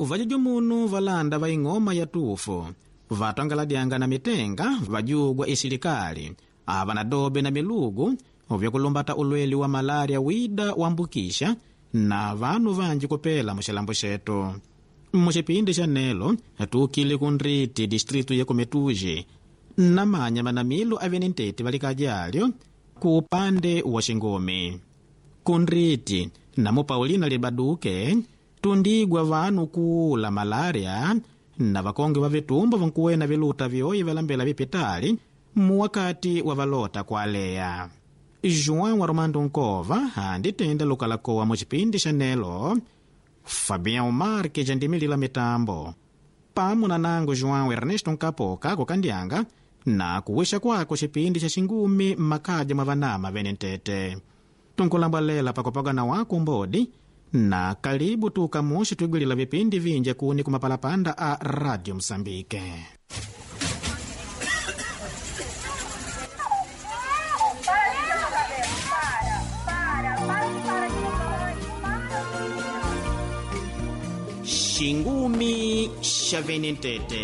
Vajujumunu valanda va ing'oma ya tufu vatwangaladyanga na mitenga vajugwa isilikali ava na dobe na milugu vyakulumbata ulweli wa malaria wida wambukisha na vanu vanji kupela muxilambo xetu. Muxipindi xa nelo tukile kunriti distritu ya Kumetuji namanya manamilo avene ntete valikajalyo ku upande wa xingumi. Kunriti namu Paulina Libaduke tundigwa vanu kuula malaria na vakonge va vitumbo vankuwena viluta vyoyi valambela vipitali muwakati wa valota kualeya. João Armando Nkova anditenda lukalakowa mucipindi xa nelo. Fabião Marques andimilila mitambo pamo na nango João Ernesto Nkapoka kukandyanga na kuwisha kwako cipindi xa xingumi mmakaja mwa vanama vene ntete. Tunkulambwalela pakupagana wako mbodi na kalibu tukamuxi twigwilila vipindi vinji kuni kumapalapanda a Radio Msambike. Xingumi xa vene ntete.